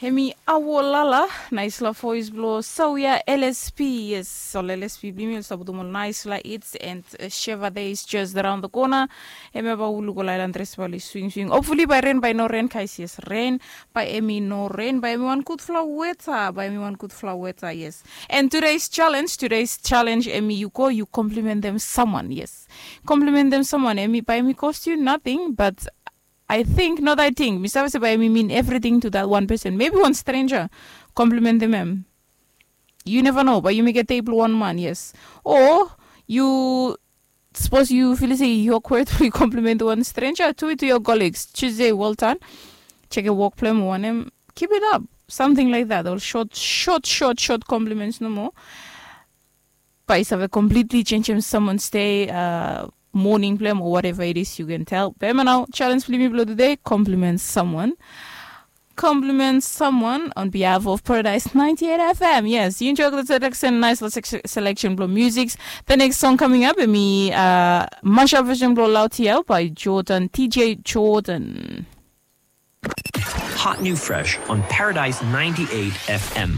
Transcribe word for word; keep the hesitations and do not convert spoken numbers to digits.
Hemi awo lala, naisfala voes blong sawia lsp. Yes, ol lsp blong yumi ol stap putum ol naisfala hits and sheva days just around the corner. Hemi bai wuluk ol ailan dres bai oli swingswing, hopefully bai ren bai no ren kais. Yes, ren bai hemi no ren bai hemi wan gudfala weta bai hemi wan gudfala weta. Yes. And today's challenge today's challenge hemi yu go yu komplimentem samwan. Yes, komplimentem samwan hemi bai hemi cost yu nating but I think not I think mi save se bai mi min everything to that one person maybe one stranger. Komplimentim em. You never know bai yumi get table one man. Yes. Or you suppose you feel se you awkward for you compliment one stranger to it to your colleagues Tuesday Walton. Check a work plan one em. Keep it up. Something like that or short short short short compliments no more. Bai save completely changem someone stay uh, morning blem or whatever it is you can tell bema now challenge blimi blo today. Compliment someone. Compliment someone on behalf of Paradise ninety-eight F M. Yes, you enjoy the selection, nice little selection blo music. The next song coming up, mi uh, mashup version blo Lautiel by Jordan, T J Jordan. Hot new fresh on Paradise ninety-eight F M.